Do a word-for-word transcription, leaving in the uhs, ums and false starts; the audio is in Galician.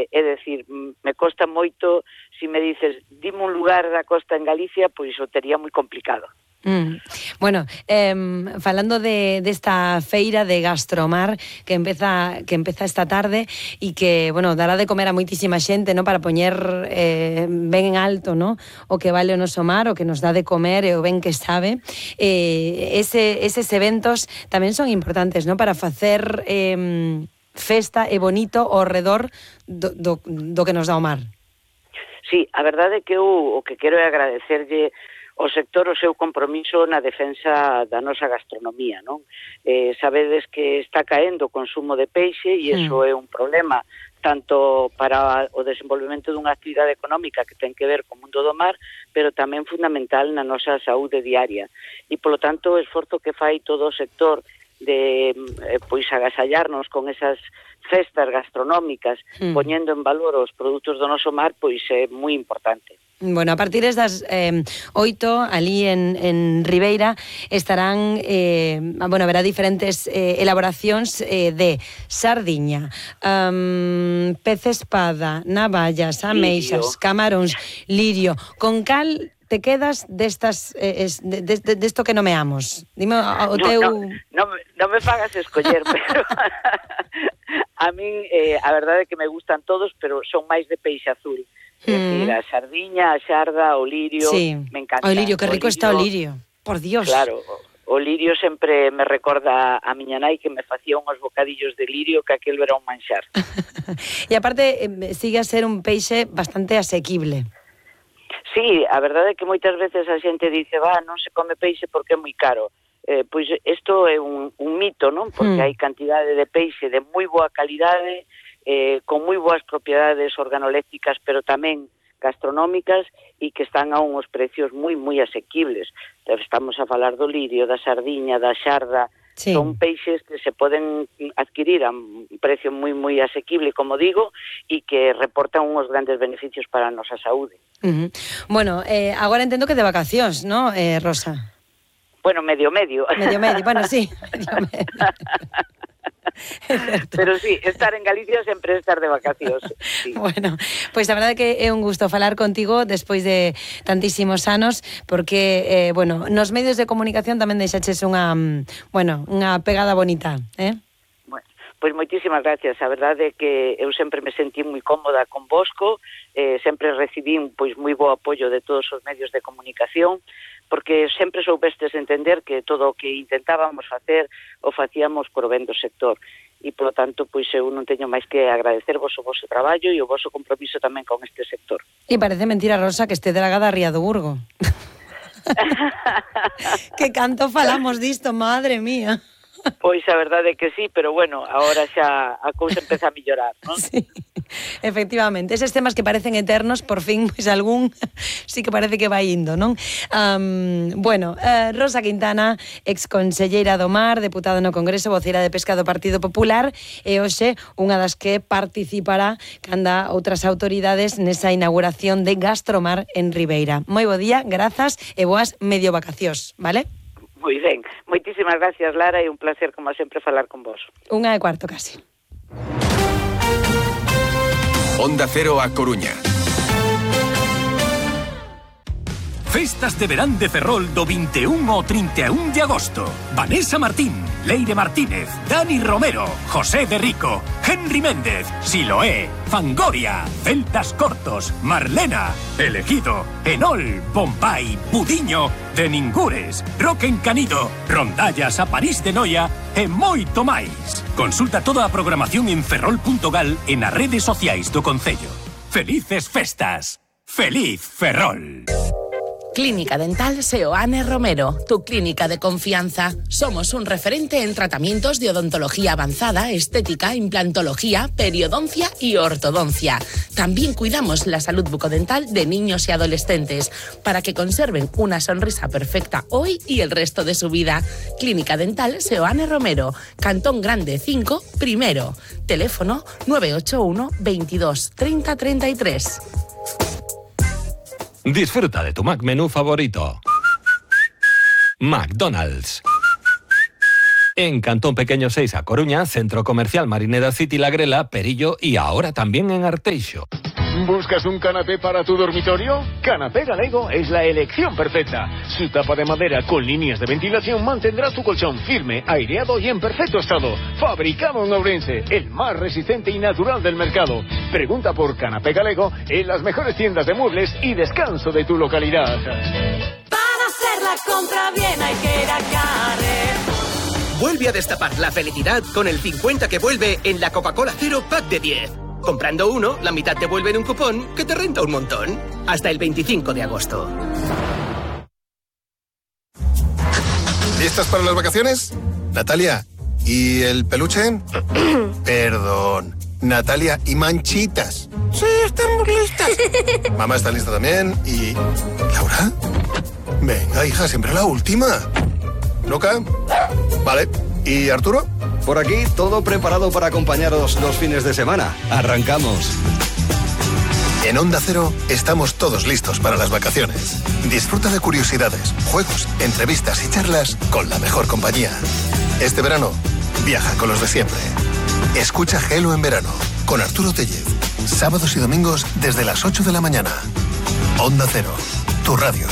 É, é decir, me costa moito, se me dices, dime un lugar da costa en Galicia, pois o tería moi complicado. Mm. Bueno, eh, falando de desta feira de Gastromar que empeza que empeza esta tarde e que, bueno, dará de comer a moitísima xente, ¿no? Para poñer eh, ben en alto, ¿no? O que vale o noso mar, o que nos dá de comer e o ben que sabe. Eh, ese, eses eventos tamén son importantes, ¿no? Para facer eh, festa e bonito ao redor do, do, do que nos dá o mar. Sí, a verdade é que eu o que quero é agradecerlle o sector o seu compromiso na defensa da nosa gastronomía, non? Eh, sabedes que está caendo o consumo de peixe e iso é un problema tanto para o desenvolvemento dunha actividade económica que ten que ver co mundo do mar, pero tamén fundamental na nosa saúde diaria. E, polo tanto, o esforzo que fai todo o sector de eh, pois agasallarnos con esas festas gastronómicas, mm. poñendo en valor os produtos do noso mar, pois é moi importante. Bueno, a partir das eh, oito, ali en, en Ribeira, estarán, eh, bueno, haberá diferentes eh, elaboracións eh, de sardiña, um, pez espada, navallas, ameixas, camaróns, lirio. Con cal te quedas destas eh, de, de, de esto que nomeamos? Dime o teu... No, no, no, no me fagas escoller, pero a min eh, a verdade é que me gustan todos, pero son máis de peixe azul. É dicir, a sardiña, a xarda, o lirio, sí. Me encanta. O lirio, que rico o lirio, está o lirio, por Dios. Claro, o, o lirio sempre me recorda a miña nai que me facía unhos bocadillos de lirio que aquel era un manxar. E aparte, eh, sigue a ser un peixe bastante asequible. Sí, a verdade é que moitas veces a xente dice, va, non se come peixe porque é moi caro. Eh, pois isto é un, un mito, non? Porque mm. hai cantidade de peixe de moi boa calidade, eh, con moi boas propiedades organolécticas, pero tamén gastronómicas e que están a uns precios moi, moi asequibles. Estamos a falar do lirio, da sardiña, da xarda, sí. Son peixes que se poden adquirir a un precio moi, moi asequible, como digo, e que reportan uns grandes beneficios para a nosa saúde. Uh-huh. Bueno, eh, agora entendo que de vacacións, ¿no, eh, Rosa? Bueno, medio medio. Medio medio, bueno, sí, medio medio. Pero sí, estar en Galicia sempre é estar de vacacións. Sí. Bueno, pois pues a verdade que é un gusto falar contigo despois de tantísimos anos, porque, eh, bueno, nos medios de comunicación tamén deixaches unha, bueno, unha pegada bonita, eh? Bueno, pois moitísimas gracias. A verdade é que eu sempre me sentí moi cómoda con Bosco, eh, sempre recibín pois moi bo apoio de todos os medios de comunicación, porque sempre soubestes entender que todo o que intentábamos facer o facíamos por ben do sector. E, polo tanto, pois eu non teño máis que agradecervos o vosso traballo e o vosso compromiso tamén con este sector. E parece mentira, Rosa, que este dragada a Ría do Burgo. Que canto falamos disto, madre mía. Pois a verdade é que sí, pero bueno, agora xa a cousa empeza a mellorar, non? Sí, efectivamente, eses temas que parecen eternos, por fin, pois algún sí que parece que vai indo, non? Um, bueno, uh, Rosa Quintana, exconselleira do Mar, deputada no Congreso, voceira de Pesca do Partido Popular, e hoxe unha das que participará canda outras autoridades nesa inauguración de Gastromar en Ribeira. Moi bo día, grazas e boas medio vacacións, vale? Moi ben, moitísimas gracias, Lara, e un placer, como sempre, falar con vos. Unha e cuarto, casi. Onda Cero a Coruña. Festas de verán de Ferrol do vinte e un ao trinta e un de agosto. Vanessa Martín, Leire Martínez, Dani Romero, José de Rico, Henry Méndez, Siloé, Fangoria, Celtas Cortos, Marlena, Elegido, Enol, Bombay, Budiño, De Ningures, Roque Encanido, Rondallas a París de Noia e moito máis. Consulta toda a programación en ferrol punto gal e nas redes sociais do Concello. Felices festas. Feliz Ferrol. Clínica Dental Seoane Romero, tu clínica de confianza. Somos un referente en tratamientos de odontología avanzada, estética, implantología, periodoncia y ortodoncia. También cuidamos la salud bucodental de niños y adolescentes para que conserven una sonrisa perfecta hoy y el resto de su vida. Clínica Dental Seoane Romero, Cantón Grande cinco, primero. Teléfono nueve ocho uno, veintidós, treinta, treinta y tres. Disfruta de tu McMenú favorito. McDonald's. en Cantón Pequeño seis a Coruña, Centro Comercial Marineda City La Grela, Perillo y ahora también en Arteixo. ¿Buscas un canapé para tu dormitorio? Canapé Galego es la elección perfecta. Su tapa de madera con líneas de ventilación mantendrá tu colchón firme, aireado y en perfecto estado. Fabricado en Ourense, el más resistente y natural del mercado. Pregunta por Canapé Galego en las mejores tiendas de muebles y descanso de tu localidad. Para hacer la compra bien hay que ir a Carrer. Vuelve a destapar la felicidad con el cincuenta que vuelve en la Coca-Cola Cero Pack de diez. Comprando uno, la mitad te vuelve en un cupón que te renta un montón. Hasta el veinticinco de agosto. ¿Listas para las vacaciones? Natalia, ¿y el peluche? Perdón. Natalia, ¿y Manchitas? Sí, estamos listas. Mamá está lista también. ¿Y Laura? Venga, hija, siempre la última. ¿Luca? Vale. ¿Y Arturo? Por aquí, todo preparado para acompañaros los fines de semana. Arrancamos. En Onda Cero estamos todos listos para las vacaciones. Disfruta de curiosidades, juegos, entrevistas y charlas con la mejor compañía. Este verano, viaja con los de siempre. Escucha Gelo en verano con Arturo Tellez. Sábados y domingos desde las ocho de la mañana. Onda Cero, tu radio.